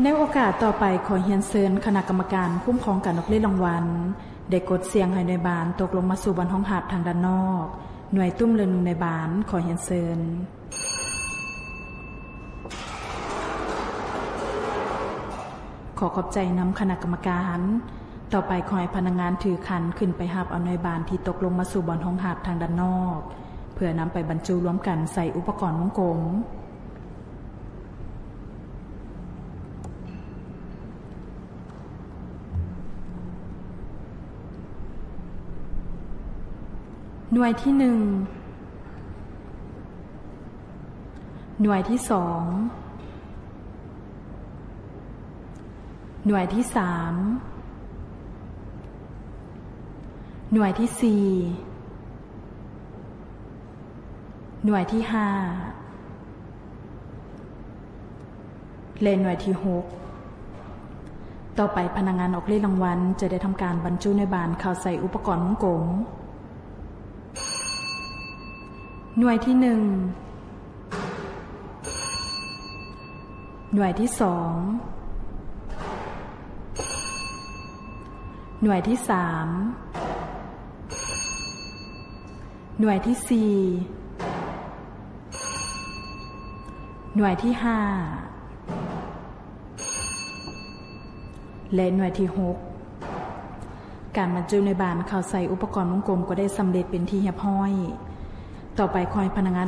ໃນໂອກາດຕໍ່ໄປ, ຂໍຮຽນເຊີນຄະນະກຳມະການຄຸ້ມຄອງການອອກເລດລາງວັນ ໄດ້ກົດສ່ຽງໃຫ້ໜ່ວຍບານຕົກລົງມາສູ່ບ່ອນຮອງຮັບທາງດ້ານນອກ. ໜ່ວຍຕຸ້ມເລີງໜຶ່ງ ໃນບານ, ຂໍຮຽນເຊີນ. ຂໍຂອບໃຈນຳຄະນະກຳມະການ. ຕໍ່ໄປ, ຂໍໃຫ້ພະນັກງານຖືຂັນຂຶ້ນໄປຮັບເອົາໜ່ວຍບານທີ່ຕົກລົງມາສູ່ບ່ອນຮອງຮັບທາງດ້ານນອກ, ເພື່ອນຳໄປບັນຈຸລວມກັນໃສ່ອຸປະກອນວົງກົມ. ໜ່ວຍທີໜຶ່ງ, ໜ່ວຍທີສອງ, ໜ່ວຍທີສາມ, ໜ່ວຍທີສີ່, ໜ່ວຍທີຫ້າ ແລະ ໜ່ວຍທີຫົກ. ຕໍ່ໄປ, ພະນັກງານອອກເລດລາງວັນຈະໄດ້ທຳການບັນຈຸໜ່ວຍບານເຂົ້າໃສ່ອຸປະກອນວົງກົມ. ໜ່ວຍທີໜຶ່ງ, ໜ່ວຍທີສອງ, ໜ່ວຍທີສາມ, ໜ່ວຍທີສີ່, ໜ່ວຍທີຫ້າ ແລະ ໜ່ວຍທີຫົກ. ການບັນຈຸໜ່ວຍບານເຂົ້າໃສ່ອຸປະກອນວົງກົມກໍໄດ້ສຳເລັດເປັນທີ່ຮຽບຮ້ອຍ. ຕໍ່ໄປ, ຂໍໃຫ້ພະນັກງານ